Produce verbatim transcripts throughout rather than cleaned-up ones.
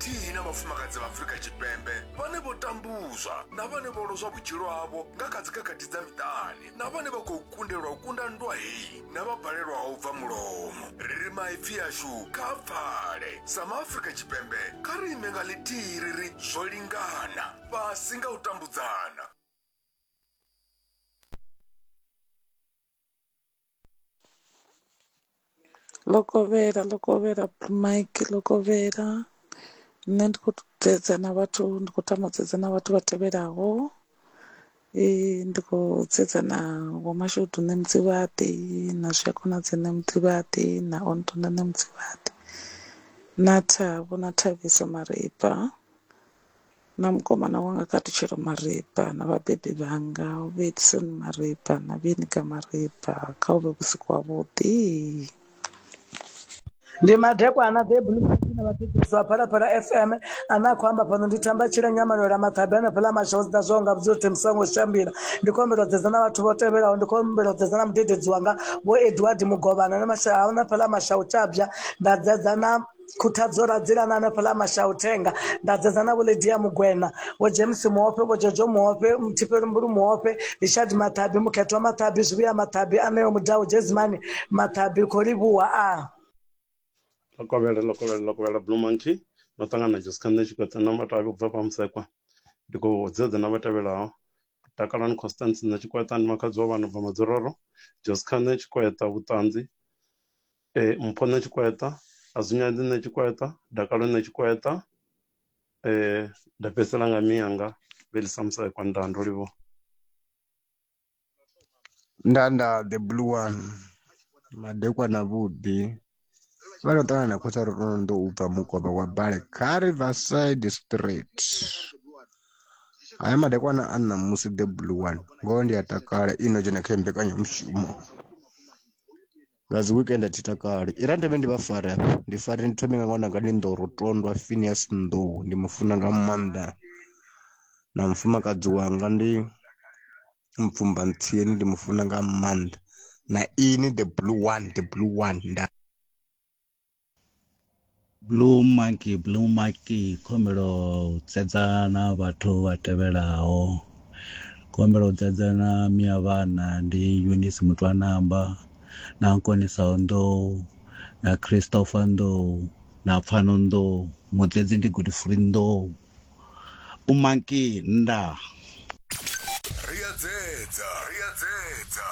ḽithihi na vhafumakadzi vha Afrika Tshipembe vhane vho tambuzwa na vhane vho lozwa vhutshilo havho nga kha dzikhakhathi dza miṱani, na vhane vha khou kundelwa u kunda nndwa heyi na vha balelwaho u bva mulomo. Ri ri maipfi ashu kha pfale. Sa maAfrika Tshipembe kha ri ime nga ḽithihi ri ri zwo lingana, fhasi nga u tambudzana. Ḽo kovhela ḽo kovhela Mike ḽo kovhela nṋe ndi khou dzedza na vhathu ndi khou tama u dzedza na vhathu vha tevhelaho ndi khou dzedza na vho Mashudu nṋe Mudzivhaḓi na Zwiakonadzi nṋe Mudzivhaḓi na Ontona nṋe Mudzivhaḓi na Thavho na Thabiso Maripa na mukomana wanga Khathutshelo Maripa na vhabebi vhanga Vho Edison Maripa na Vhenika Maripa kha hu vhe vhusiku havhuḓi. Ndi madekwana the Blue Monkey na vhathetshelesi vha Phalaphala F M ane a khou amba fhano ndi Thamba Tshila Nyamalwela Maṱhabi hanefhaḽa Mashozi zwo nga vhudza uri songo shambila. Ndi khou humbela u dzedza na vhathu vho tevhelaho, ndi khou humbela u dzedza na mudededzi wanga Vho Edward Mugovhana na masha hanefhaḽa Mashau Tshabya, nda dzedza na Khuthadzo Radzilana hanefhaḽa Mashau Thenga, nda dzedza na Vho Lydia Mugwena, Vho James Muofhe, Vho Jojo Muofhe, Mthifheli Mbulu Muofhe, Richard Mathabi, Mukhethwa Mathabi, Zwivhuya Mathabi, Aneo Mudau, Jezimani Mathabi, khou livhuwa a. Ḽo kovhela ḽo kovhela ḽo kovhela Blue Monkey no ṱangana na Jessica nṋe Tshikotse na Matavhi u bva fha Musekwa. Ndi khou dzedza na vha tevhelaho: Takalani Constance nṋe Tshikweta ndi makhadzi wa vhana bva Madzororo, Jessica nṋe Tshikweta Vhuṱanzi, eh, Mpho nṋe Tshikweta, Azunyadzi nṋe Tshikweta, Dakalo nṋe Tshikweta, eh, nda fhedzisela nga miyanga Belisa Musekwa. Ndaa, ndo livhuwa. Nda nda the blue one madekwana vhuḓi vha ḓo ṱangana na khosi Rondo u bva mukovha wa bale kha Riverside Street. Haya madekwana a ṋamusi the blue one ngoho ndi a takala ino dzhena kha mbekanyamushumo nga dzi weekend a thi takali. I ra thome ndi vha fare hafha ndi fare ndi thome nga ṅwananga ndi Nḓoro Tondwa Phineas Nḓou ndi mufuna nga maanḓa, na mufumakadzi wanga ndi Mpfumba Ntsieni ndi mufuna nga maanḓa, na ini the blue one the blue one nda. Blue Monkey Blue Monkey khombelo dzedza na vhathu vha tevhelaho. Khombelo dzedza na miya vhana ndi Eunice Mutwanamba na Nkonisa Nḓou na Christopher Nḓou na Pfano Nḓou, mudzedzi ndi Godfrey Nḓou. Umonkey nda. Ri a dzedza, ri a dzedza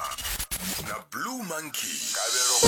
na Blue Monkey. Kabelo